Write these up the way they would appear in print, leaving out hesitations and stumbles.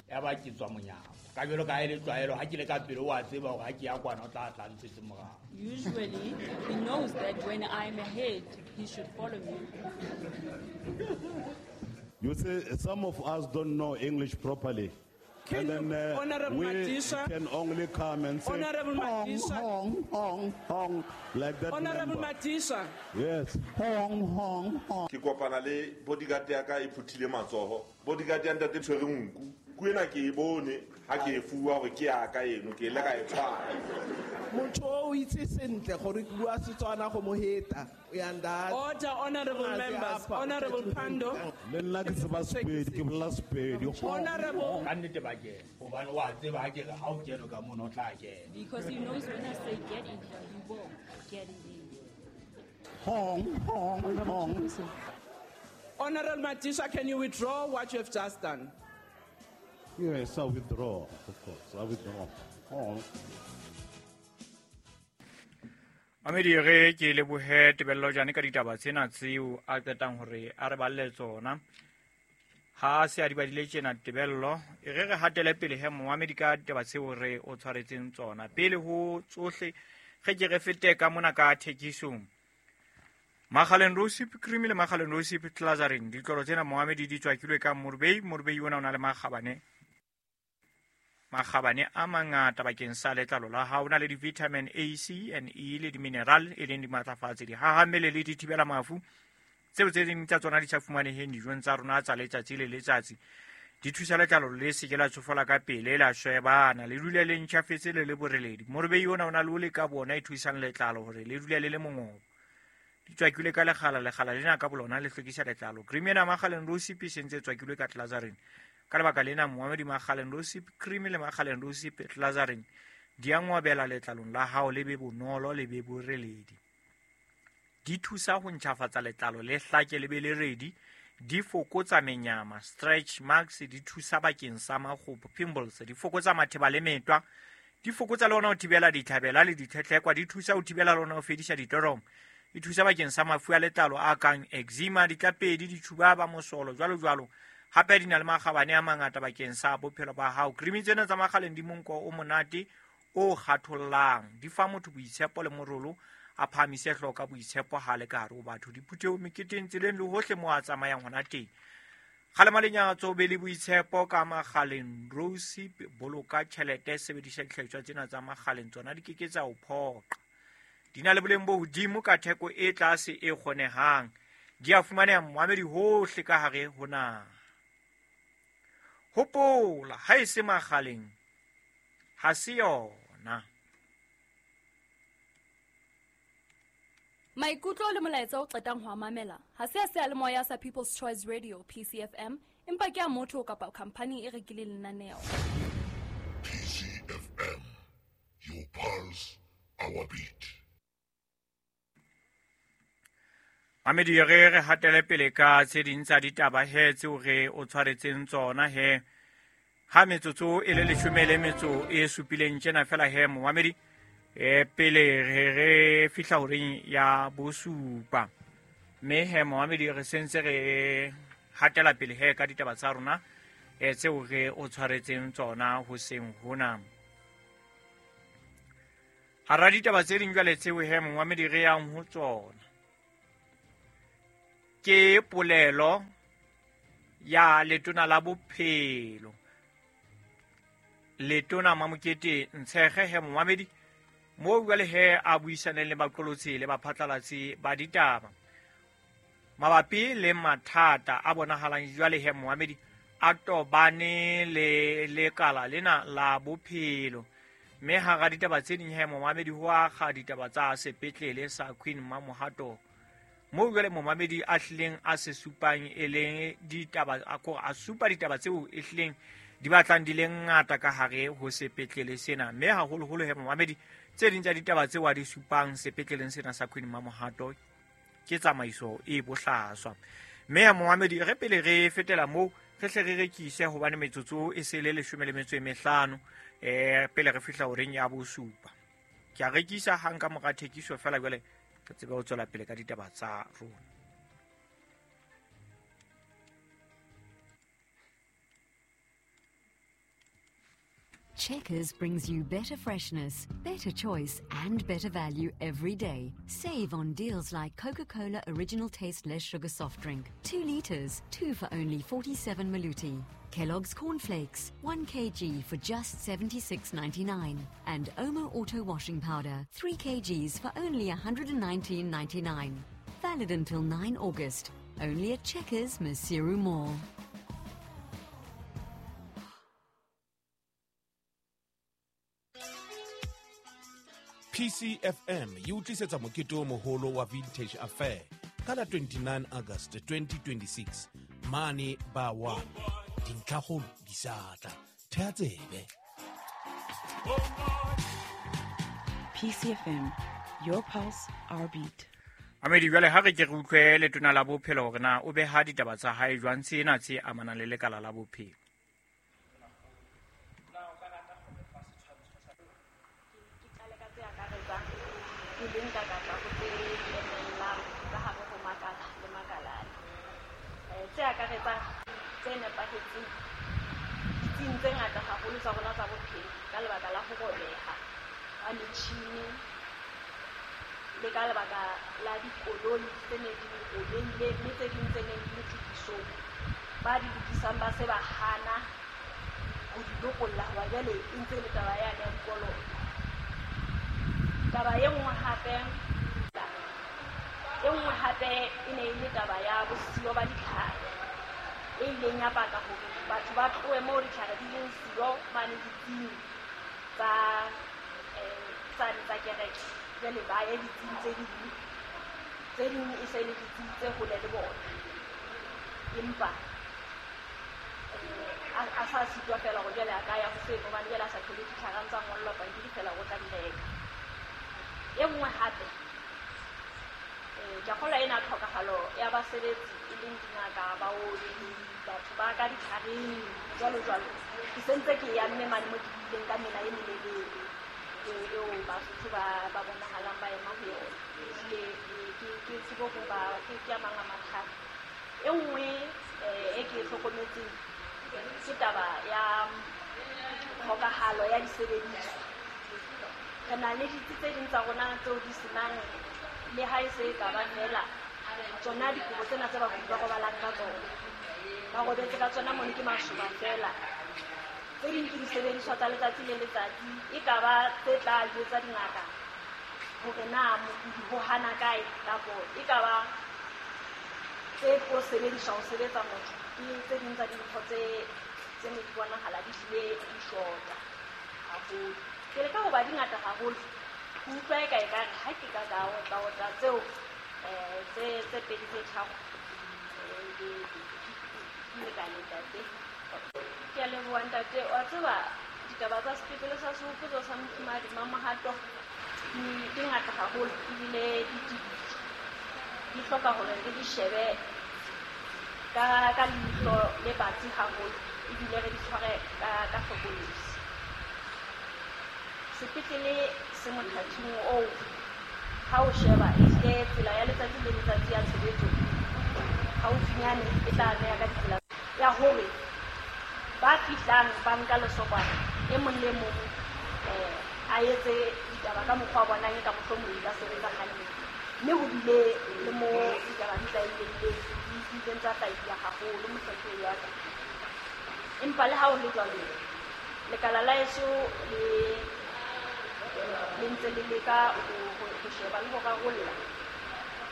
Ya ba ke tswa monyako. Ka jwalo ka ha e le tlwaelo ha ke le ka pele o a tseba hore ha ke ya kwana o tla tla ntshetse morao. Usually, he knows that when I'm ahead, he should follow me. You see, some of us don't know English properly. Can And then you- Honorable we Madisha? can only come and say, Honorable hong, Madisha. hong, hong, hong, like that Honorable member. Madisha, Yes, hong, hong, hong. Ke kopana le bodyguard ya ka e phuthile matsoho. Bodyguard ya ntate tshwere nku. Nku ena ke e bone ha ke e fuwa hore ke ya ka eno, ke ile ka e tshwara. Motho o itse sentle gore ke bua Setswana go mo heta. Uyanda. Order, honorable Ngaze members. apha, Honorable Pandor. Le nna ke tseba Sepedi, ke bolela Sepedi. Hong, Honorable, Ka nnete ba kena. Hobane o a tseba ha ke re ha o kene ka mono o tla kena. Because he knows when I say get in here, he will get in there. hong, hong, hong. Honorable Madisha, can you withdraw what you have just done? Yes, I withdraw, of course, I withdraw. Hong. Mamedi re ke lebohe Tebello Jane ka ditaba tsena tseo a qetang hore a re balle tsona. Ha se a di badile tjena Tebello, e re re hatele pele he momamedi ka ditaba tseo re o tshwaretseng tsona. Pele ho tsohle, re ke re fete ka mona ka thekisong. Makgaleng Rosip Cream le Makgaleng Rosip Clazarin, ditlolo tsena momamedi di tswakilwe ka Morbei. Morbei ona o na le makgabane. Makgabane a mangata bakeng sa letlalo la hao, o na le di-vitamin A, C and E le di-mineral e leng dimatlafatsi, dihahammele le dithibela mafu. Tseo tse ding tsa tsona di sa fumaneheng dijong tsa rona tsa letsatsi le letsatsi. Di thusa letlalo le se ke la tsofala ka pele, la shwebana, le dule le ntjhafetse le le boreledi. Morbei ona o na le ole ka bona e thusang letlalo hore le dule le le mongobo. Di tswakilwe ka lekgala, lekgala lena ka bolona le hlwekisa letlalo. Cream ena Makgaleng Rosip e sentse e tswakilwe ka Clazarin. Ka lebaka lena momamedi Makgaleng Rosip Cream le Makgaleng Rosip Clazarin di a ngwabela letlalong la hao, le be bonolo, le be boreledi. Di thusa ho ntjhafatsa letlalo le hlake le be le redi, di fokotsa menyama, stretch marks, di thusa bakeng sa makgopo, pimples, di fokotsa matheba le metwa, di fokotsa le hona ho thibela ditlhabela le ditlhetlhekwa, di thusa ho thibela le hona ho fedisa ditoromo. Di thusa bakeng sa mafu a letlalo a kang eczema, ditlapedi, ditjhubaba, mosolo, jwalo jwalo. Hape di na le makgabane a mangata bakeng sa bophelo ba hao. Cream tsena tsa Makgaleng di monko o monate o kgathollang, di fa motho boitshepo le morolo, a phahamise hlooho ka boitshepo ha le ka hare ho batho, diphuthehong, meketeng, tseleng le hohle moo a tsamayang hona teng. Kgalema lenyatso, be le boitshepo ka Makgaleng Rosip, boloka tjhelete, sebedisa dihlahiswa tsena tsa Makgaleng, tsona di keke tsa o phoqa. Di na le boleng bo hodimo ka theko e tlase e kgonehang. Di a fumaneha momamedi hohle ka hare ho naha. Hopola, ha e se Makgaleng, ha se yona. Maikutlo le molaetsa o qetang ho a mamela ha se a seyalemoya sa People's Choice Radio PCFM, empa ke a motho kapa khampani e rekileng lenaneo. PCFM, your pulse, our beat. Mamedi, re re hatele pele ka tse ding tsa ditaba he tseo re o tshwaretseng tsona he. Ha metsotso e le leshome le metso e supileng tjena fela he momamedi, pele re re fihla horeng ya bosupa. Mme he momamedi, re sentse re hatela pele he ka ditaba tsa rona, tseo re o tshwaretseng tsona hoseng hona. Hara ditaba tse ding jwale tseo he momamedi re yang ho tsona, ke polelo ya letona la bophelo, letona Mamokete Ntshege he momamedi, moo jwale he a buisaneng le baqolotsi le baphatlalatsi ba ditaba mabapi le mathata a bonahalang jwale he momamedi a tobane le lekala lena la bophelo. Mme hara ditaba tse ding he momamedi ho akga ditaba tsa sepetlele sa Queen Mamohato, moo jwale momamedi a hlileng a se supang e leng ditaba, a ko a supa ditaba tseo e hlileng di batlang di le ngata ka hare ho sepetlele sena. Mme haholoholo he momamedi, tse ding tsa ditaba tseo a di supang sepetleleng sena sa Queen Mamohato ke tsamaiso e bohlaswa. Mme ya momamedi, re pele re fetela moo, re hle re rekise hobane metsotso e se le leshome le metso e mehlano, pele re fihla horeng ya bosupa. Ke a rekisa hang ka mora thekiso fela jwale re tsebe ho tswela pele ka ditaba tsa rona. Checkers brings you better freshness, better choice, and better value every day. Save on deals like Coca-Cola Original Taste Less Sugar Soft Drink, 2 liters, 2 for only 47 maluti. Kellogg's Cornflakes, 1 kg for just 76.99. And Omo Auto Washing Powder, 3 kgs for only 119.99. Valid until 9 August. Only at Checkers, Maseru Mall. PCFM e o tlisetsa mokete o moholo wa Vintage Affair ka la 29 August 2026 mane ba 1. Dintlhakgolo di sa tla. Thea tsebe. PCFM, your pulse, our beat. Amedi jwale ha re ke re utlwe letona la bophelo hore na o beha ditaba tsa hae jwang tsena tse amanang le lekala la bophelo. Tse akaretsang tse nepahetseng ditsing tse ngata haholo tsa rona tsa bophelo ka lebaka la ho robeha ha metjhini le ka lebaka la dikoloi tse neng di robehile, mme tse ding tse neng di le tokisong ba di lokisang ba se ba hana ho di lokolla hoba jwale e ntse e le taba yane ya dikoloto. Taba e nngwe hape e ne e le taba ya bosiyo ba ditlhare e ileng ya baka hore batho ba tlohe moo ditlhare di leng siyo mane ditsing tsa tsane tsa kereke, jwale ba ye ditsing tse ding e se le ditsing tse hole le bona, empa a sa sitwa fela hore jwale a ka ya ho seno hobane jwale a sa thole ditlhare a ntsa ngollwa pampiri fela o tla di reka. E nngwe hape ke a kgolwa ena tlhokahalo ya basebetsi e leng dingaka, baoki, batho ba ka ditlhareng jwalo jwalo. Ke sentse ke ya mme mane mo ke buileng ka mela e melelele eo Basotho ba bonahalang ba ema ho yona. Ehlile ke bo ho ba ke a mang a mathata. E nngwe e ke e hlokometseng ke taba ya tlhokahalo ya disebediswa. Re na le ditsi tse ding tsa rona tseo di senang le ha e se e ka ba fela tsona dikobo tsena tse bakudi ba robalang ka tsona, ba robetse ka tsona mono ke masoba fela. Tse ding ke disebediswa tsa letsatsi le letsatsi, e ka ba tse tla jwetsa dingaka hore na mokudi ho hana kae, kapo e ka ba tse tlo sebediswa ho sebetsa motho. Ke tse ding tsa dintho tse ne di bonahala di hlile di shota haholo. Ke leka hoba di ngata haholo, ke utlwa e ka ekare ha ke ka ka otla tseo tse pedi tse tharo di lekane ntate. Ke a leboha ntate. Wa tseba ditaba tsa sepetlele sa Sehopotso sa Mofumahadi Mamohato di ngata haholo ebile di tebile, di hloka hore re di shebe ka leihlo le batsi haholo ebile re di tshware ka hlokolosi. Sepetlele se mothating oo ha o sheba ehlile tsela ya letsatsi le letsatsi ya tshebetso haufinyane e tla beha ka ditsela ya hore ba fihlang ba nka lesokwana e mong le mong a etse ditaba ka mokgwa wa bonang e ka mohlomong di ka sebetsa hantle. Mme ho bile le mo ditaba di tlaileng tsa hlahisa haholo mohlomphehi wa ka. Empa le ha ho le jwalo, lekala la heso le ntse le leka ho sheba le ho rarolla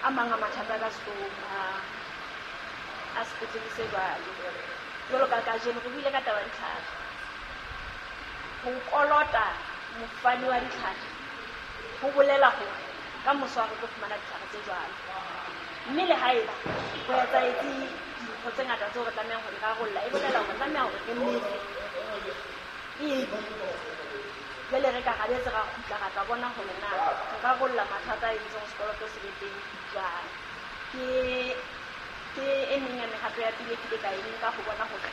a mang a mathata ka sehloohong a sepetlele se jwalo. Jwalo ka kajeno re buile ka taba ya ditlhare. Ho kolota mofani wa ditlhare ho bolela hore ka moso ha re tlo fumana ditlhare tse jwalo. Mme le haeba ho etsahetse dintho tse ngata tseo re tlamehang ho di rarolla, e bolela hore tlameha hore re lefe ebe jwale re ka rabetse ra kgutla ra tla bona hore na re rarolla mathata a entseng sekoloto se be teng jwang. Ke e meng ya mehato ya pele ke ile ka e nka ho bona hore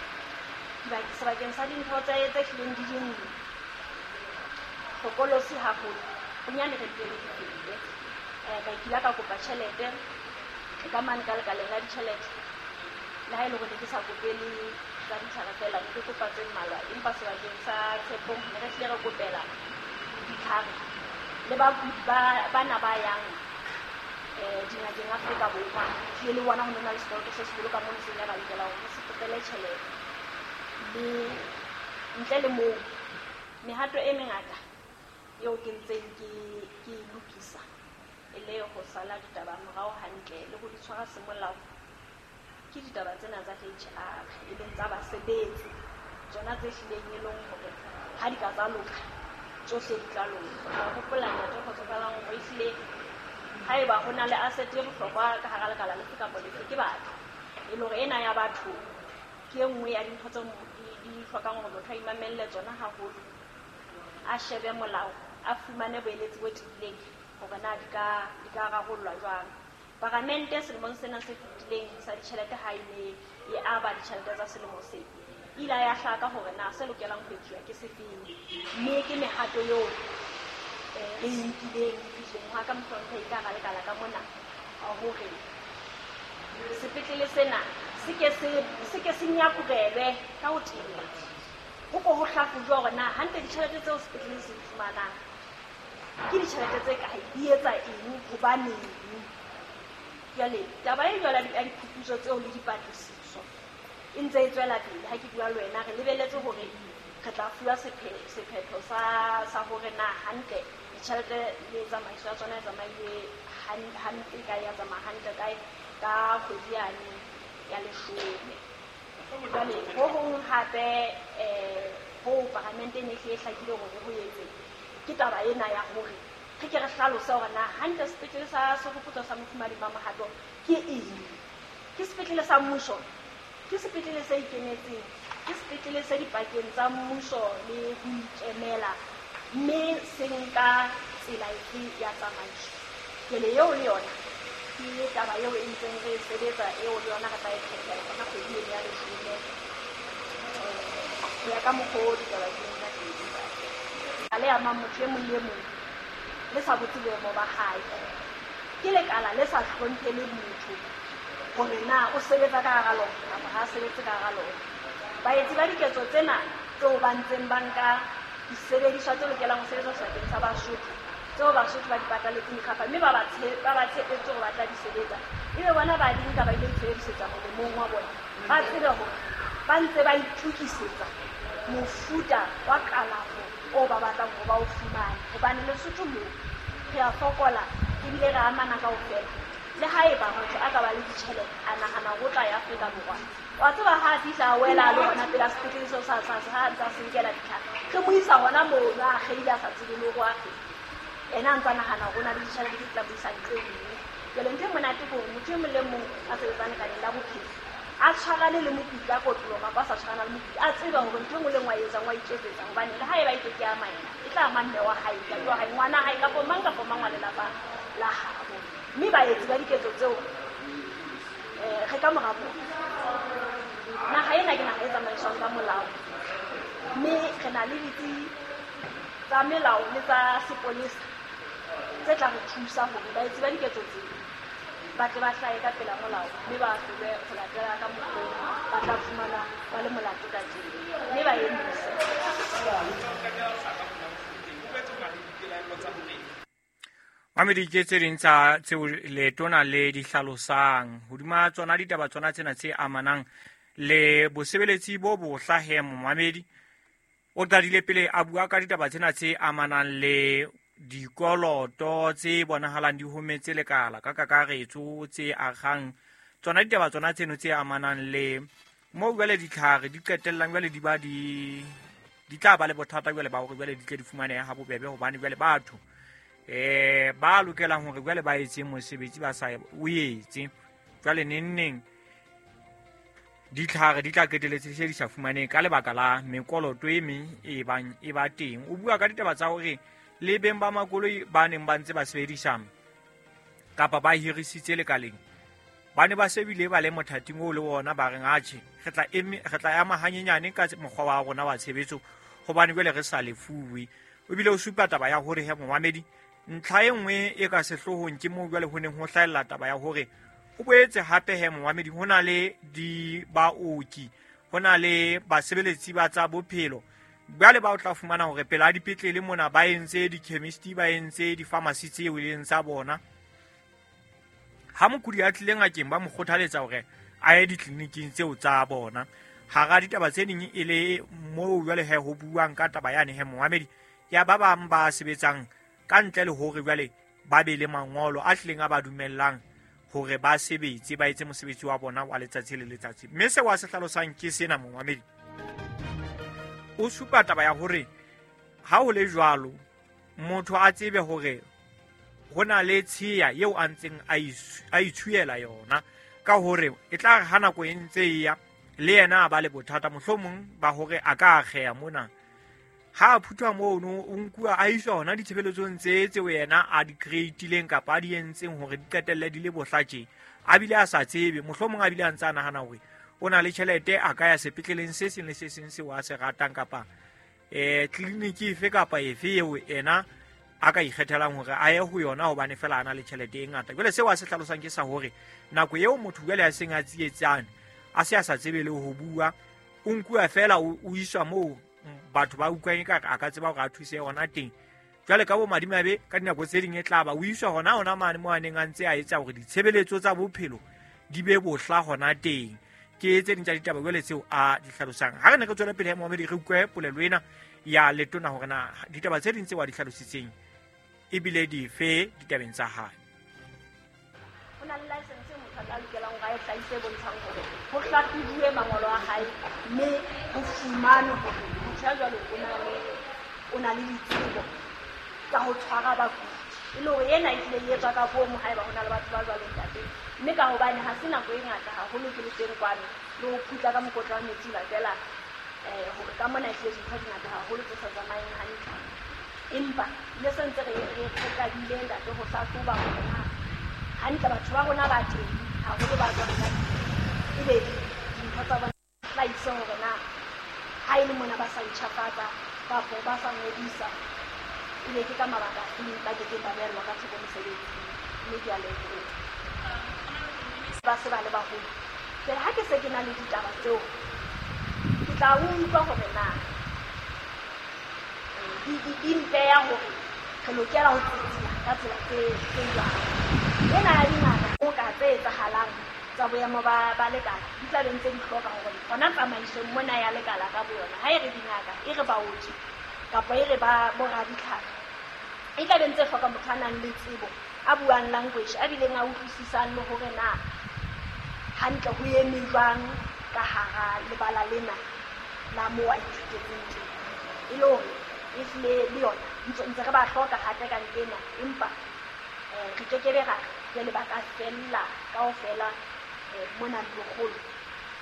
sebakeng sa dintho tse hlileng di ding hlokolosi haholo bonyane re dule re di fete. Ka kila ka kopa tjhelete ka mane ka lekaleng la ditjhelete, le ha e le hore ne ke sa kopele tsa ditlhare fela, ne ke kopa tse mmalwa, empa sebakeng sa Tshepong ne re hlile re kopela ditlhare le bakudi bana ba yang dingakeng Afrika Borwa. Tlile le bona ho nona le sekoloto se seholo ka mono, se ile ra lokela hore re se kopele tjhelete. Le ntle le moo, mehato e mengata eo ke ntseng ke e lokisa e le ho sala ditaba morao hantle le ho di tshwara semolao, ke ditaba tsena tsa HR, e leng tsa basebetsi, tsona tse hlileng e leng hore ha di ka tsa loka tsohle di tla loka. Ka hopola ntate Kgotsofalang hore ehlile haeba ho na le asset e bohlokwa ka hara lekala lefe kapa lefe ke batho, e le hore ena ya batho ke e nngwe ya dintho tse di hlokang hore motho a imamelle tsona haholo, a shebe molao, a fumane boeletsi bo tiileng hore na di ka rarollwa jwang. Paramente selemong sena se fetileng sa ditjhelete ha e ne e aba ditjhelete tsa selemo se, ile ya hlaka hore na se lokelang ho etsuwa ke sefeng, mme ke mehato eo re e nkileng fihleng hwa ka mohlomphehi ka hara lekala ka mona, hore sepetlele sena se ke se nyakurelwe ka ho teba, ho ko ho hlahlojwa hore na hantle ditjhelete tseo sepetlele se di fumanang ke ditjhelete tse kae, di etsa eng, hobaneng. Jwale taba e jwalo ya diphuputso tseo le dipatlisiso e ntse e tswela pele. Ha ke bua le wena, re lebeletse hore re tla fuwa sephetho sa hore na hantle ditjhelete le tsamaiso ya tsona e tsamaile hampe kae, ya tsamaya hantle kae ka kgwedi yane ya 10. Jwale ho hong hape ho paramente e ne e hlakile hore ho etse ke taba ena ya hore re ke re hlalose hore na hantle sepetlele sa Sehopotso sa Mofumahadi Mamohato ke eng. Ke sepetlele sa mmuso, ke sepetlele se ikemetseng, ke sepetlele se dipakeng tsa mmuso le ho ikemela, mme se nka tsela efe ya tsamaiso. Jwale eo le yona ke taba eo e ntseng re sebetsa, eo le yona re tla e phethela hona kgwedi ena ya 10 ho ya ka mokgwa o ditaba di leng ka teng. Le amang motho e mong le mong le sa botse boemo ba hae, ke lekala le sa hlomphele motho hore na o sebetsa ka hara lona kapa ha a sebetse ka hara lona. Baetsi ba diketso tsena tseo ba ntseng ba nka disebediswa tse lokelang ho sebetsa sebakeng sa Basotho, tseo Basotho ba di pataletseng dikgafa, mme ba ba tshepetse hore ba tla di sebetsa, ebe bona ba di nka ba ile itshebedisetsa molemong wa bona, ba tsebe hore ba ntse ba itokisetsa mofuta wa kalafo o ba batlang hore ba o fumane. Hobane Lesotho moo re a fokola ebile re amana kaofela. Le haeba motho a ka ba le ditjhelete a nahana hore o tla ya Afrika Borwa, wa tseba ha a fihla a wela a le hona pela sepetlele seo sa ha ntse a se nkela ditlhare, re mo isa hona mono a akgeile a sa tsebe le hore o akgeile, ena a ntse a nahana hore o na le ditjhelete tse tla mo isa ntle nngwe. Jwale ntho e monate ke hore motho e mong le mong a sebetsang lekaleng la bophelo a tshwarane le mokudi ka kotloloho kapa a sa tshwarana le mokudi, a tsebe hore ntho e nngwe le nngwe a etsang wa iketsetsa, hobane le haeba e ke ke ama yena, e tla ama mme wa hae, ntate wa hae, ngwana hae, kapa mang kapa mang wa lelapa la habo. Mme baetsi ba diketso tseo re ka mora bona. Naha ena ke naha e tsamaiswang ka molao, mme re na le ditsi tsa melao le tsa sepolesa tse tla re thusa hore baetsi ba diketso tseo ba tle ba hlahe ka pela molao, mme ba ahlolwe ho latela ka mokgwa ba tla fumana ba le molato ka teng, mme ba emise. Mamedi, ke tse ding tsa tseo letona le di hlalosang hodima tsona ditaba tsona tsena tse amanang le bosebeletsi bo bohla. He momamedi o qadile pele a bua ka ditaba tsena tse amanang le dikoloto tse bonahalang di hometse lekala ka kakaretso, tse akgang tsona ditaba tsona tseno tse amanang le mo jwale ditlhare di qetellang jwale di ba di tla ba le bothata jwale ba hore jwale di tle di fumanehe ha bobebe, hobane jwale batho ba lokelang hore jwale ba etse mosebetsi ba sa o etse, jwale neng ditlhare di tla qeteletse se di sa fumaneng ka lebaka la mekoloto e meng e bang e ba teng. O bua ka ditaba tsa hore le beng ba makoloi ba neng ba ntse ba sebedisa kapa ba hirisitse lekaleng ba ne ba sebile ba le mothating oo le wona, ba reng atjhe re tla ema hanyenyane ka mokgwa wa rona wa tshebetso hobane jwale re sa lefuwe. O bile o supa taba ya hore he momamedi ntlha e nngwe e ka sehloohong ke moo jwale ho neng ho hlahella taba ya hore ho boetse hape he momamedi ho na le di baoki Ho na le basebeletsi ba tsa bophelo jwale ba o tla fumana hore pela dipetlele mona ba entse di-chemist, ba entse di-pharmacy tseo e leng tsa bona. Ha mokudi a tlile ngakeng ba mo kgothaletsa hore a ye ditleliniking tseo tsa bona. Hara ditaba tse ding e le moo jwale he ho buang ka taba yane he momamedi ya ba bang ba sebetsang ka ntle le hore jwale ba be le mangolo a tlileng a ba dumellang hore ba sebetse, ba etse mosebetsi wa bona wa letsatsi le letsatsi. Mme seo a se hlalosang ke sena momamedi, o supa taba ya hore ha ho le jwalo motho a tsebe hore ho na le tshiya eo a ntseng a itshuyela yona, ka hore e tla re ha nako e ntse e ya le yena a ba le bothata mohlomong ba hore a ka akgeha mona. Ha a phuthwa mono o nkuwa a iswa hona ditshebeletsong tse tseo yena a di creatileng kapa a di entseng hore di qetelle di le bohla tje, a bile a sa tsebe, mohlomong a bile a ntse a nahana hore o na le tjhelete a ka ya sepetleleng se seng le se seng seo a se ratang kapa tleliniki efe kapa efe eo ena a ka ikgethelang hore a ye ho yona hobane fela a na le tjhelete e ngata. Jwale seo a se hlalosang ke sa hore nako eo motho jwale a seng a tsietsane, a se a sa tsebe le ho bua, o nkuwa fela o iswa moo batho ba utlwang ekare a ka tseba hore a thuse hona teng. Jwale ka bomadimabe ka dinako tse ding e tla ba o iswa hona mane moo a neng a ntse a etsa hore ditshebeletso tsa bophelo di be bohla hona teng. Ke tse ding tsa ditaba jwale tseo a di hlalosang. Ha re ne re tswela pele ya momamedi re utlwe polelo ena ya letona hore na ditaba tse ding tseo a di hlalositseng ebile dife ditabeng tsa hae. Ho na le license e motho a lokelang hore a e hlahise e bontshang hore ho hlahlobuwe mangolo a hae mme ho fumanwe hore motho ya jwalo o na le ditsebo tsa ho tshwara bakudi, e le hore ena ehlile e etswa ka bomo haeba ho na le batho ba jwalo ntate. Mme ka hobane ha se nako e ngata haholo ke le teng kwano le ho phutla ka mokotla wa metsi latela hore ka mona ehlile dintho di ngata haholo tse sa tsamayeng hantle. Empa le se ntse re qadile ntate ho hlahloba hore na hantle batho ba rona ba teng haholo ba tswang ka ebe dintho tsa bona hlahise hore na ha e le mona ba sa ntjhafatsa kapa ba sa ngodisa, ebe ke ka mabaka afe ba kekeng ba beellwa ka thoko mosebetsi. Mme ke a leboha. Ba se ba le baholo. Jwale ha ke se ke na le ditaba tseo, ke tla utlwa hore na di mpeya hore re lokela ho tsitsila ka tsela tse jwang. Ena ya dingaka o ka tse etsahalang tsa boemo ba lekala di tla be ntse di hloka hore hona tsamaisong mona ya lekala ka boyona, ha e re dingaka, e re baoki kapa e re ba boraditlhare, e tla be ntse hloka motho a nang le tsebo, a buang language, a bileng a utlwisisang le hore na hantle ho eme jwang ka hara lebala lena la moo a ithutetseng teng. E le hore ehlile le yona ntse re ba hloka hape ka ena, empa re kekebe ra re jwale ba ka fella kaofela mona ntlokgolo.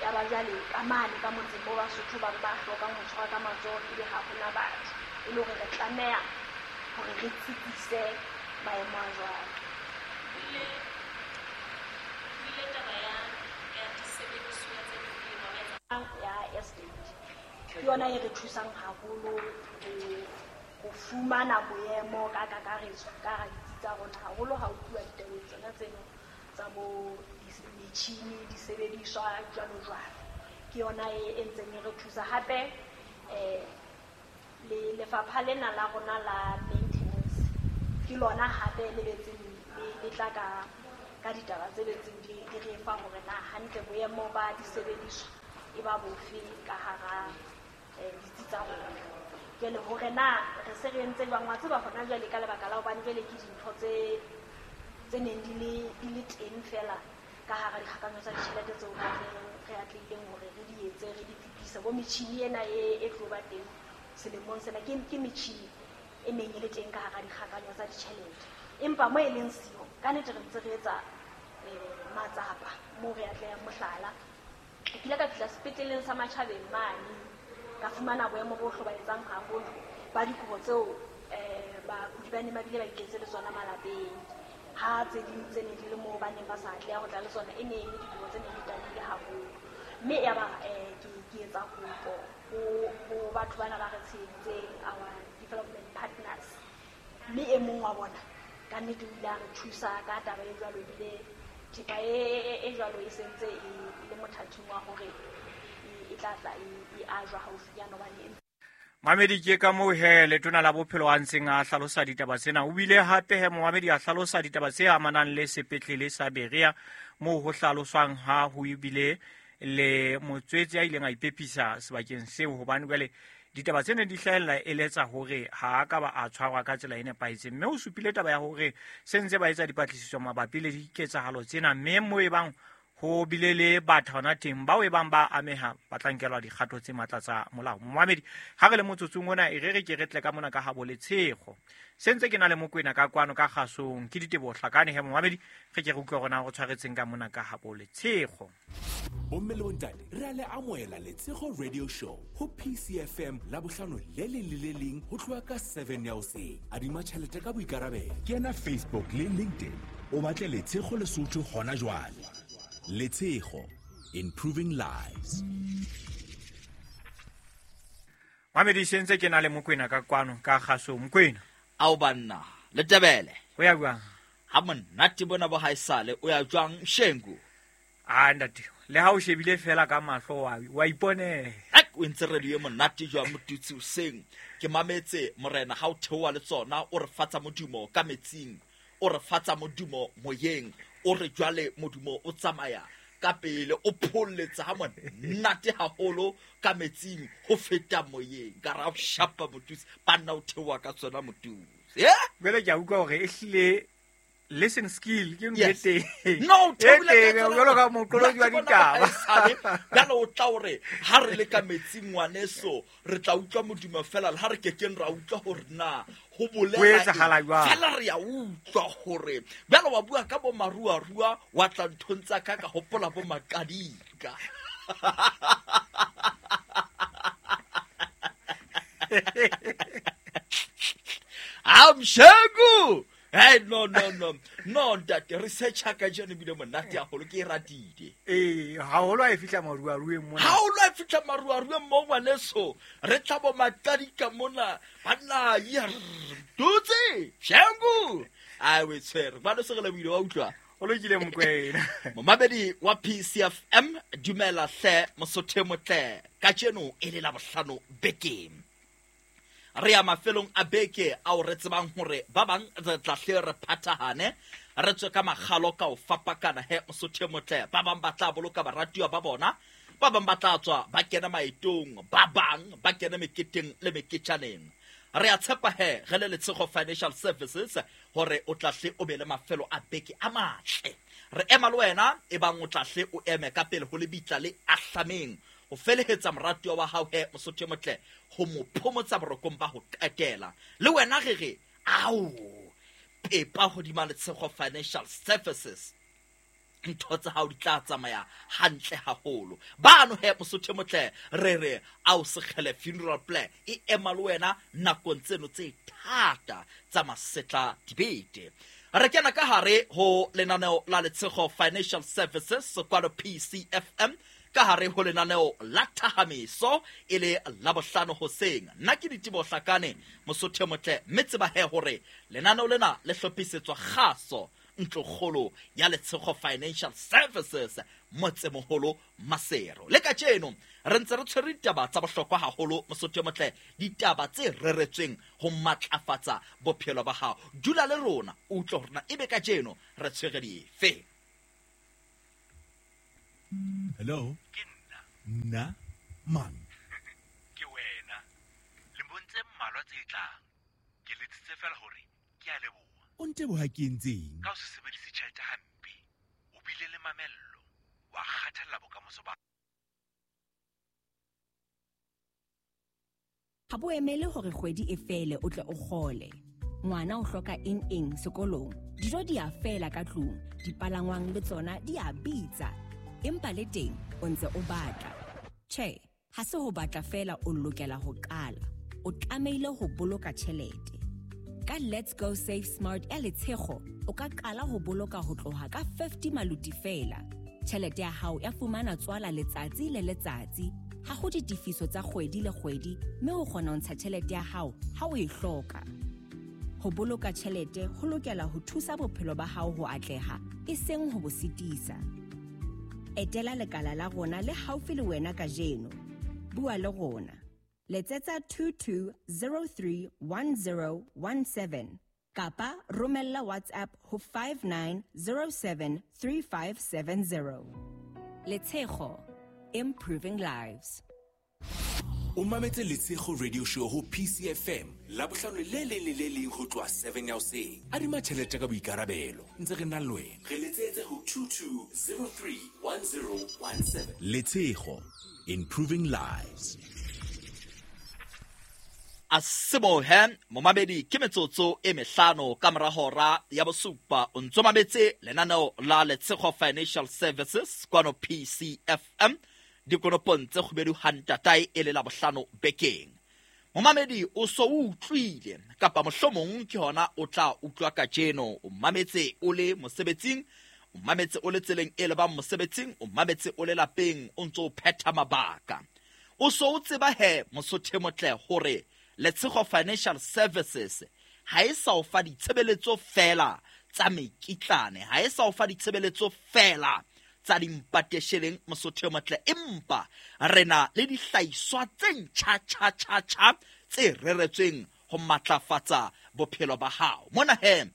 Ya ba jwale ka mane ka motseng moo Basotho bang ba hlokang ho tshwara ka matsoho ebe ha hona batho, e le hore re tlameha hore re tsitsise maemo a jwalo. Ya estate ke yona e re thusang haholo ho fumana boemo ka kakaretso ka hara ditsi tsa rona, haholo ha ho tluwa ditabeng tsona tseno tsa bo metjhini, disebediswa jwalo jwalo. Ke yona e ntseng e re thusa hape. Le lefapha lena la rona la maintenance ke lona hape le betseng le tla ka ditaba tse betseng di re fa hore na hantle boemo ba disebediswa e ba bofe ka hara ditsi tsa rona. Jwale hore na re se re entse jwang, wa tseba hona jwale ka lebaka la hobane jwale ke dintho tse neng di le teng fela ka hara dikgakanyo tsa ditjhelete tseo re atlehileng hore re di etse, re di fetise. Bo metjhini ena e tlo ba teng selemong sena ke metjhini e neng e le teng ka hara dikgakanyo tsa ditjhelete, empa mo e leng siyo ka nnete re ntse re etsa matsapa moo re atlehang. Mohlala, ke ile ka fihla sepetleleng sa Matjhabeng mane, ka fumana boemo bo hlobaetsang haholo ba dikobo tseo bakudi ba neng ba bile ba iketse le tsona malapeng, ha tse ding tse ne di le moo ba neng ba sa atleha ho tla le tsona e ne e le dikobo tse neng di tadile haholo. Mme ya ba ke etsa kopo ho batho bana ba re tsheheditseng, our development partners, mme e mong wa bona ka nnete o ile a re thusa ka taba e jwalo, ebile thepa e jwalo e sentse e le mothating wa hore e tla tla e ajwa haufinyana hobane e Mamedi ke ka moo he letona la bophelo a ntseng a hlalosa ditaba tsena. O bile hape he momamedi a hlalosa ditaba tse amanang le sepetlele sa Berea moo ho hlaloswang ha ho bile le motswetse a ileng a ipepisa sebakeng seo, hobane jwale ditaba tsena di hlahella eletsa hore ha a ka ba a tshwarwa ka tsela e nepahetseng. Mme o supile taba ya hore se ntse ba etsa dipatlisiso mabapi le diketsahalo tsena, mme moo e bang ho bile le batho hona teng bao e bang ba ameha ba tla nkelwa dikgato tse matla tsa molao. Momamedi, ha re le motsotsong ona e re re ke re tle ka mona ka habo Letshego. Se ntse ke na le Mokwena ka kwano ka kgasong ke Diteboho Hlakane. He momamedi, re ke re utlwe hore na go tshwaretseng ka mona ka habo Letshego. Bomme le bontate, re a le amohela Letshego Radio Show ho PCFM la bohlano le leng le le leng ho tloha ka 7 ya hoseng. Adima tjhelete ka boikarabelo. Kena Facebook le LinkedIn o batle Letshego Lesotho hona jwale. Letshego, improving lives. Mamedi, se ntse ke na le Mokwena ka kwano ka kgaso. Mokwena, ao banna le tebele o ya jwang? Ha monate bona bo haesale o ya jwang Shengu? A ntate, le ha o shebile fela ka mahlo wa iponela. O ntse radio e monate jwang motutsi hoseng. Ke mametse morena ha o theoha le tsona, o re fatsa modumo ka metsing, o re fatsa modumo moyeng, o re jwale modumo o tsamaya ka pele, o pholletsa ha monate haholo ka metsing ho feta moyeng. Ka ra o shapa motutsi, banna o theoha ka tsona motutsi. Jwale ke a utlwa hore ehlile listen skill ke ntho e teng. No, theola jwalo ka moqolotsi wa ditaba. Jwale o tla hore ha re le ka metsing ngwaneso, re tla utlwa modumo fela, le ha re kekeng ra utlwa hore na ho bolela etsahala jwang. Fela re ya utlwa hore jwale wa bua ka bo maruarua, wa tla nthong tsa ka ka hopola bo makadika. Amshengu. Hey, no. No, ntate, research ka jeno bile monate haholo, ke e ratile. Haholo ha e fihla maruarueng mona. Haholo ha e fihla maruarueng mo ngwaneso. Re tla bo makadika mona. Banna, ya dutse, Shengu. Ai we tshwere. Ba no se re lebile wa utlwa. O lokile Mokwena. Momamedi wa PCFM, dumela hle mosotho motle. Kajeno e le la bohlano bekeng. Re ya mafelong a beke ao re tsebang hore ba bang re tla hle re phathahane, re tswe ka makgalo ka ho fapakana he mosotho motle. Ba bang ba tla boloka baratuwa ba bona, ba bang ba tla tswa ba kena maetong, ba bang ba kena meketeng le meketjaneng. Re a tshepa he re le Letshego Financial Services hore o tla hle o be le mafelo a beke a matle. Re ema le wena e bang o tla hle o eme ka pele ho lebitla le ahlameng, o felehetsa moratuwa wa hao he mosotho motle, ho mo phomotsa borokong ba ho qetela. Le wena re re ao pepa hodima Letshego Financial Services, ntho tsa hao di tla tsamaya hantle haholo. Bano he mosotho motle, re re ao Sekgele Funeral Plan e ema le wena nakong tseno tse thata tsa masetla dibete. Re kena ka hare ho lenaneo la Letshego Financial Services kwano PCFM, ka hare ho lenaneo la thahamiso e le la bohlano hoseng. Nna ke Diteboho Hlakane mosotho motle, mme tseba he hore lenaneo lena le hlophisetswa kgaso ntlokgolo ya Letshego Financial Services motsemoholo Maseru. Le kajeno re ntse re tshwere ditaba tsa bohlokwa haholo mosotho motle, ditaba tse reretsweng ho matlafatsa bophelo ba hao. Dula le rona o utlwe hore na ebe kajeno re tshwere dife. Hello? Ke nna. Nna? Mang? Ke wena. Lemong tse mmalwa tse tlang, ke letsitse fela hore ke a leboha. O nteboha ke entseng? Ka ho se sebedise tjhelete hampe, o bile le mamello, wa kgathalla bokamoso ba. Ha bo emele hore kgwedi e fele o tle o kgole. Ngwana o hloka eng eng sekolong, dijo di a fela ka tlung, dipalangwang le tsona di a bitsa. Empa le teng o ntse o batla. Tjhe, ha se ho batla fela o lokela ho qala. O tlamehile ho boloka tjhelete. Ka Let's Go Save Smart ya Letshego, o ka qala ho boloka ho tloha ka 50 maluti fela. Tjhelete ya hao ya fumana tswala letsatsi le letsatsi. Ha ho ditefiso tsa kgwedi le kgwedi, mme o kgona ho ntsha tjhelete ya hao ha o e hloka. Ho boloka tjhelete ho lokela ho thusa bophelo ba hao ho atleha, e seng ho bo sitisa. Etela lekala la rona le haufi le wena kajeno. Bua le rona. Letsetsa 22031017 kapa romella WhatsApp ho 59073570. Letshego, improving lives. O mametse Letshego Radio Show ho PCFM Labohlano le leng le le leng ho tloha 7 ya hoseng. Adima tjhelete ka boikarabelo ntse re na le wena. Re letsetse ho 22031017. Letshego, improving lives. A sebohe momamedi ke metsotso e mehlano ka mora hora ya bosupa o ntso mametse lenaneo la Letshego Financial Services kwano PCFM dikonopong tse kgubedu hantatae e le la bohlano bekeng. Momamedi o so utlwile kapa mohlomong ke hona o tla utlwa kajeno. O mametse o le mosebetsing, o mametse o le tseleng e lebang mosebetsing, o mametse o le lapeng o ntso o phetha mabaka. O so o tseba he mosotho motle hore Letshego Financial Services ha e sa o fa ditshebeletso fela tsa mekitlane, ha e sa o fa ditshebeletso fela tsa dimpatesheleng mosotho motle, empa re na le dihlahiswa tse ntjha tjha tjha tjha tse reretsweng ho matlafatsa bophelo ba hao. Mona he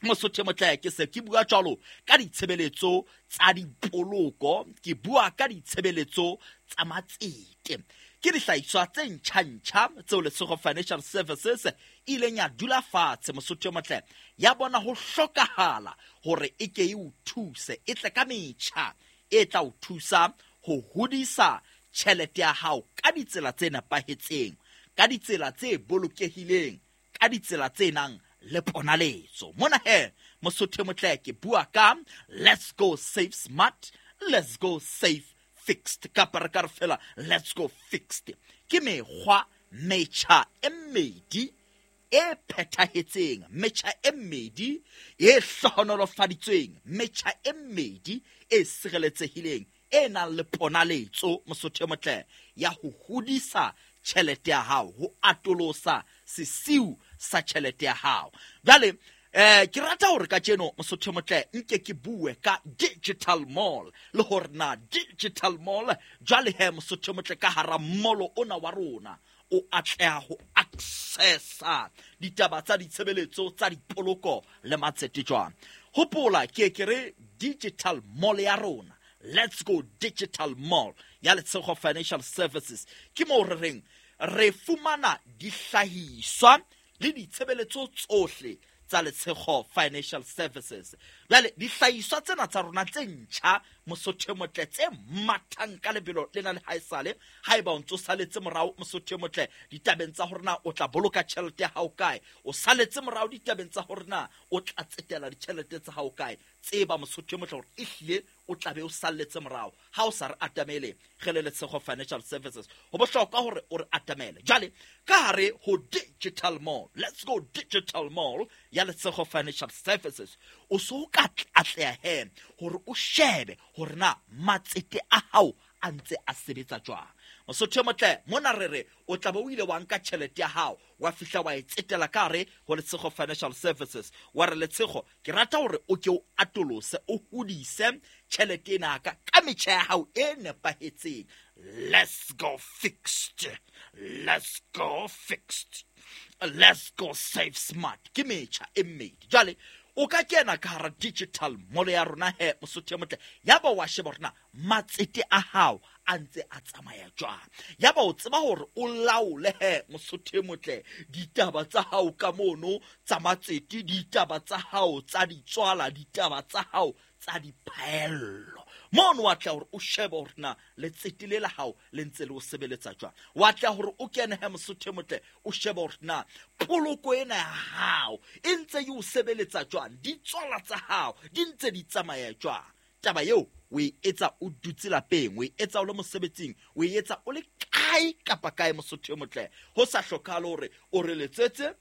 mosotho motle ke se ke bua jwalo ka ditshebeletso tsa dipoloko, ke bua ka ditshebeletso tsa matsete. Ke dihlahiswa tse ntjha-ntjha tseo Letshego Financial Services e ileng ya dula fatshe mosotho motle ya bona ho hlokahala hore e ke e o thuse, e tle ka metjha e tla o thusa ho hodisa tjhelete ya hao ka ditsela tse nepahetseng, ka ditsela tse bolokehileng, ka ditsela tse nang le ponaletso. Mona he mosotho motle ke bua ka Let's Go Save Smart, Let's Go Save Fixed, kapa re ka re fela Let's Go Fixed. Ke mekgwa metjha e mmedi e phethahetseng, metjha e mmedi e hlohonolofaditsweng, metjha e mmedi e sireletsehileng, e nang le ponaletso mosotho motle ya ho hodisa tjhelete ya hao, ho atolosa sesiu sa tjhelete ya hao. Jwale ke rata hore kajeno mosotho motle nke ke bue ka Digital Mall le hore na Digital Mall jwale he mosotho motle ka hara molo ona wa rona o atleha ho accessa ditaba tsa ditshebeletso tsa dipoloko le matsete jwang. Hopola ke ke re Digital Mall ya rona, Let's Go Digital Mall ya Letshego Financial Services, ke moo re reng re fumana dihlahiswa le ditshebeletso tsohle tsa Letshego Financial Services. Jwale dihlahiswa tsena tsa rona tse ntjha mosotho motle tse mathang ka lebelo lena le haesale, haeba o ntso saletse morao mosotho motle ditabeng tsa hore na o tla boloka tjhelete ya hao kae, o saletse morao ditabeng tsa hore na o tla tsetela ditjhelete tsa hao kae, tseba mosotho motle hore ehlile o tla be o salletse morao ha o sa re atamele re le Letshego Financial Services. Ho bohlokwa hore o re atamele. Jwale ka hare ho Digital Mall, Let's Go Digital Mall ya Letshego Financial Services, o so ka atleha he hore o shebe hore na matsete a hao a ntse a sebetsa jwang. Mosotho motle mona re re o tla be o ile wa nka tjhelete ya hao wa fihla wa e tsetela ka hare ho Letshego Financial Services, wa re Letshego ke rata hore o ke o atolose o hodise tjhelete ena ka ka metjha ya hao e nepahetseng. Let's go fixed, let's go fixed, let's go save smart. Ke metjha e mmedi. Jwale o ka kena ka hara Digital Mall ya rona he mosotho motle, ya ba wa sheba hore na matsete a hao a ntse a tsamaya jwang, ya ba o tseba hore o laole he mosotho motle ditaba tsa hao ka mono tsa matsete, ditaba tsa hao tsa ditswala, ditaba tsa hao tsa diphaello. Mono wa tla hore o shebe hore na letsete le la hao le ntse le o sebeletsa jwang. Wa tla hore o kene he mosotho motle o shebe hore na poloko ena ya hao e ntse e o sebeletsa jwang, ditswala tsa hao di ntse di tsamaya jwang. Taba eo o e etsa o dutse lapeng, o e etsa o le mosebetsing, o e etsa o le kae kapa kae mosotho motle. Ho sa hlokahale hore o re letsetse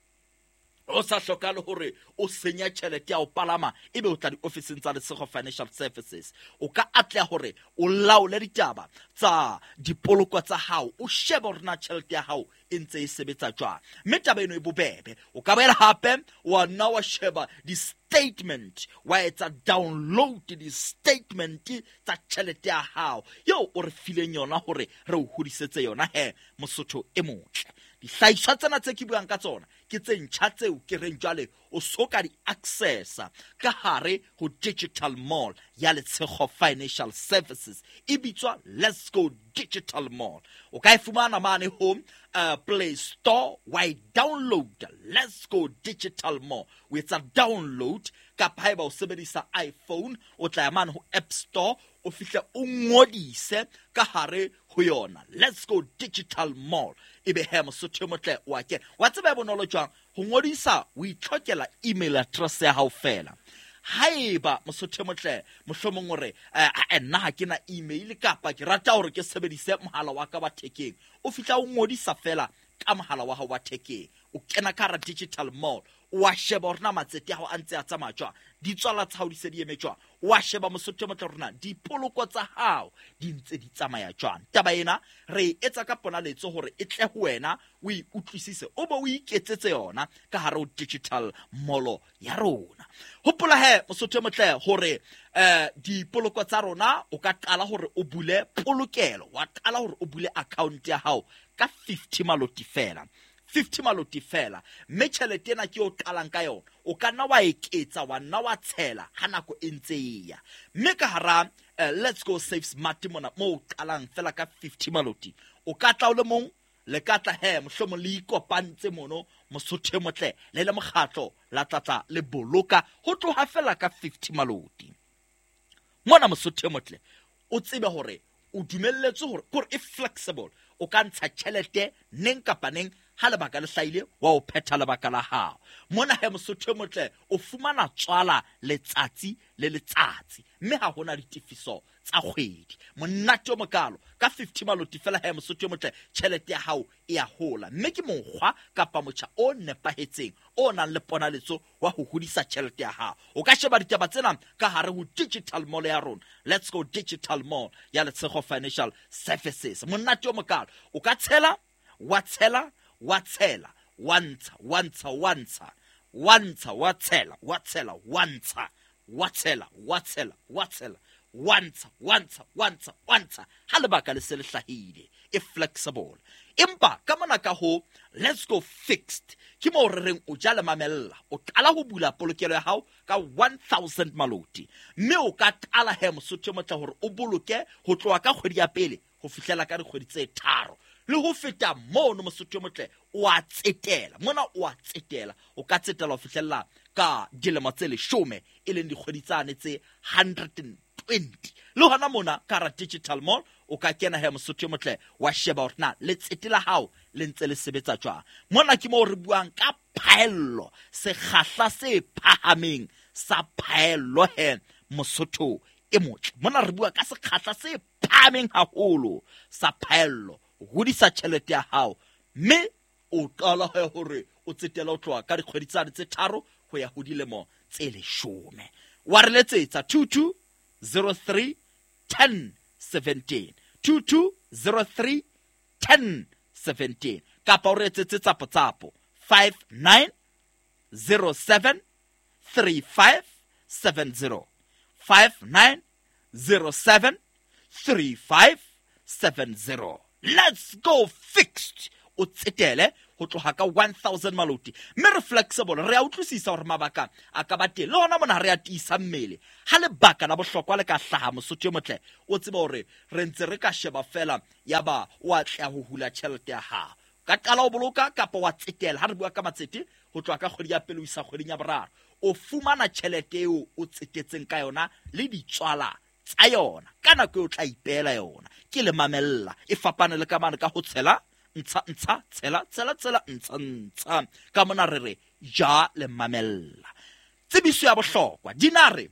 O sa hlokahale hore o senya tjhelete ya ho palama ebe o tla diofising tsa Letshego Financial Services. O ka atleha hore o laole ditaba tsa dipoloko tsa hao, o shebe hore na tjhelete ya hao e ntse e sebetsa jwang. Mme taba eno e bobebe. O ka boela hape wa nna wa sheba di-statement, wa etsa download di-statement tsa tjhelete ya hao eo o re fileng yona hore re o hodisetse yona he Mosotho e motle. Dihlahiswa tsena tse ke buang ka tsona ke tse ntjha tseo ke reng jwale o so ka di accessa ka hare ho digital mall ya Letshego Financial Services, e bitswa Let's Go Digital Mall. O ka e fumana mane ho Play Store, wa e download Let's Go Digital Mall, o etsa download, kapa haeba o sebedisa iPhone o tla ya mane ho App Store, o fihle o ngodise ka hare ho yona Let's Go Digital Mall. Ebe he Mosotho e motle wa kena. Wa tseba e bonolo jwang ho ngodisa? O itlhokela email address ya hao fela. Haeba Mosotho e motle mohlomong o re nna ha ke na email kapa ke rata hore ke sebedise mohala wa ka wa thekeng, o fihla o ngodisa fela ka mohala wa hao wa thekeng, o kena ka hara digital mall, wa sheba hore na matsete a hao a ntse a tsamaya jwang, ditswala tsa hao di se di eme jwang, wa sheba Mosotho e motle hore na dipoloko tsa hao di ntse di tsamaya jwang. Taba ena re e etsa ka ponaletso hore e tle ho wena o e utlwisise, o be o iketsetse yona ka hare ho digital mall ya rona. Hopola he Mosotho e motle hore dipoloko tsa rona o ka qala hore o bule polokelo, wa qala hore o bule account ya hao ka 50 maloti fela. 50 maloti fela, mme tjhelete ena ke o qalang ka yona, o ka nna wa eketsa, wa nna wa tshela ha nako e ntse e ya. Mme ka hara Let's Go Save Smart mona mo o qalang fela ka 50 maloti, o ka tla o le mong, le ka tla he mohlomong le ikopantse mono Mosotho e motle le le mokgatlo la tlatla le boloka ho tloha fela ka 50 maloti. Mona Mosotho e motle o tsebe hore o dumelletswe hore kore e flexible, o ka ntsha tjhelete neng kapa neng ha lebaka le hlahile wa o phetha lebaka la hao. Mona he Mosotho e motle o fumana tswala letsatsi le letsatsi, mme ha hona ditefiso tsa kgwedi. Monate o mokalo ka 50 maloti fela he Mosotho e motle, tjhelete ya hao e a hola, mme ke mokgwa kapa motjha o nepahetseng o nang le ponaletso wa ho hodisa tjhelete ya hao. O ka sheba ditaba tsena ka hare ho digital mall ya rona, Let's Go Digital Mall ya Letshego Financial Services. Monate o mokalo, o ka tshela, wa tshela, wa tshela, wa ntsha, wa ntsha, wa ntsha, wa ntsha, wa tshela, wa tshela, wa ntsha, wa tshela, wa tshela, wa tshela, wa ntsha, wa ntsha, wa ntsha, wa ntsha, ha lebaka le se le hlahile. E flexible. Empa ka mona ka ho Let's Go Fixed ke moo re reng o ja le mamella, o qala ho bula polokelo ya hao ka 1000 maloti, mme o ka qala he Mosotho e motle hore o boloke ho tloha ka kgwedi ya pele ho fihlela ka dikgwedi tse tharo le ho feta mono. Mosotho e motle o a tsetela mona, o a tsetela, o ka tsetela ho fihlella ka dilemo tse 10, e leng dikgwedi tsane tse 120. Le hona mona ka hara digital mall o ka kena he Mosotho e motle wa sheba hore na letsete la hao le ntse le sebetsa jwang. Mona ke moo re buang ka phaello, sekgahla se phahameng sa phaello he Mosotho e motle. Mona re bua ka sekgahla se phahameng haholo sa phaello, o hodisa tjhelete ya hao, mme o qala he hore o tsetela o tloha ka dikgwedi tsane tse tharo ho ya ho dilemo tse 10. Wa re letsetsa 22 03 10 17, 22 03 10 17, kapa o re etsetse tsapo-tsapo 59 07 35 70, 59 07 35 70. Let's Go Fixed, o tsetele ho tloha ka 1000 maloti, mme re flexible, re a utlwisisa hore mabaka a ka ba teng. Le hona mona re a tiisa mmele ha lebaka la bohlokwa le ka hlaha Mosotho e motle, o tsebe hore re ntse re ka sheba fela yaba o atleha ho hula tjhelete ya hao. Ka qala o boloka kapa wa tsetela. Ha re bua ka matsete ho tloha ka kgwedi ya pele ho isa kgweding ya boraro, o fumana tjhelete eo o tsetetseng ka yona le ditswala tsa yona ka nako eo o tla ipeela yona. Ke le mamella e fapane le ka mane ka ho tshela ntsha ntsha tshela tshela tshela ntsha ntsha. Ka mona re re ja le mamella. Tsebiso ya bohlokwa, dinare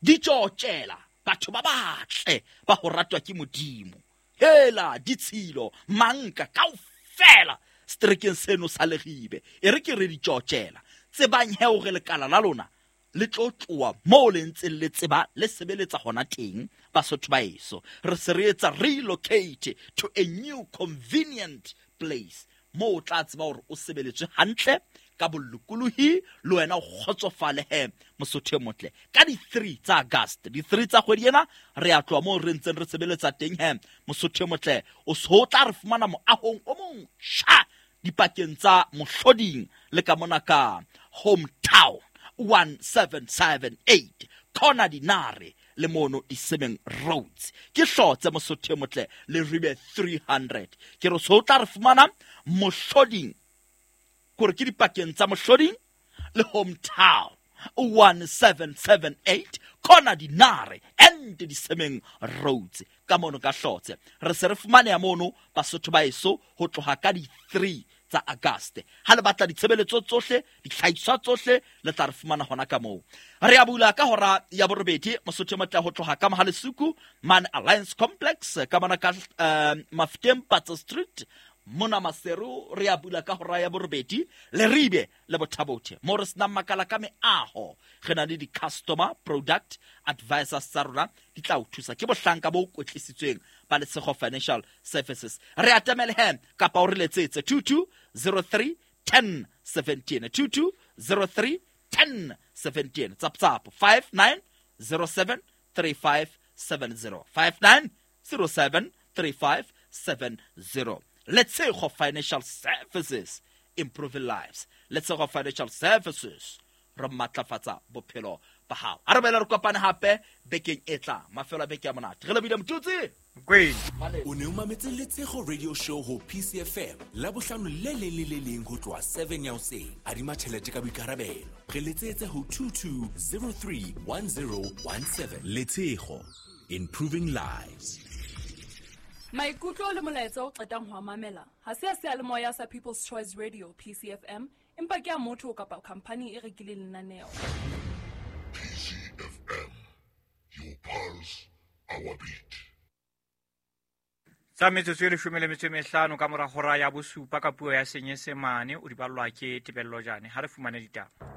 di tjotjela batho ba batle ba ho ratwa ke Modimo. Hela ditshilo manka kaofela Seterekeng seno sa Leribe. E re ke re ditjotjela. Tsebang he hore lekala la lona le tlo tloha moo le ntseng le tseba le sebeletsa hona teng Basotho ba eso. Re se re etsa relocate to a new convenient place moo o tla tseba hore o sebeletswe hantle ka bolokolohi le wena o kgotsofale he Mosotho e motle. Ka di-3 tsa August, di-3 tsa kgwedi ena re a tloha moo re ntseng re sebeletsa teng he Mosotho e motle. O so tla re fumana moahong o motjha dipakeng tsa Mohloding le ka mona ka Hometown 1778 corner Dinare le mono Disemeng Roads. Ke hlotse Mosotho e motle le Ribe 300. Ke re so tla re fumana Mohloding, kore ke dipakeng tsa Mohloding le Hometown 1778 corner Dinare and Disemeng Roads. Ka mono ka hlotse re se re fumaneha mono Basotho ba eso ho tloha ka di-3 tsa August. Ha le batla ditshebeletso tsohle, ditlhahiswa tsohle, le tla re fumana hona ka moo. Re a bula ka hora ya 8 Mosotho e motle ho tloha ka Mohalesuku mane Alliance Complex ka mona ka Mafeteng Patsa Street mona Maseru. Re a bula ka hora ya 8 Leribe le Bothabothe mo re senang makala ka meaho. Re na le di-customer product advisors tsa rona di tla o thusa. Ke bohlanka bo kwetlisitsweng ba Letshego Financial Services. Re atamele he kapa o re letsetse 2203 1017 2203 1017 tsap tsap 5907 3570 5907 3570. Letshego Financial Services, improving lives. Letshego Financial Services, re matlafatsa bophelo ba hao. A re boele re kopane hape bekeng e tlang. Mafelo a beke a monate. Re lebile Motutsi. O ne o mametse Letshego Radio Show ho PCFM Labohlano le leng le le leng ho tloha 7 ya hoseng. Adima tjhelete ka boikarabelo. Re letsetse ho 22031017. Letshego, improving lives. Maikutlo le molaetsa o qetang ho a mamela ha se a seyalemoya sa People's Choice Radio PCFM, empa ke a motho kapa khampani e rekileng lenaneo. PCFM, your pulse, our beat. Tsa metsotso e 15 ka mora hora ya 7 ka puo ya Senyesemane o di ballwa ke Tebello Jane. Ha re fumane ditaba.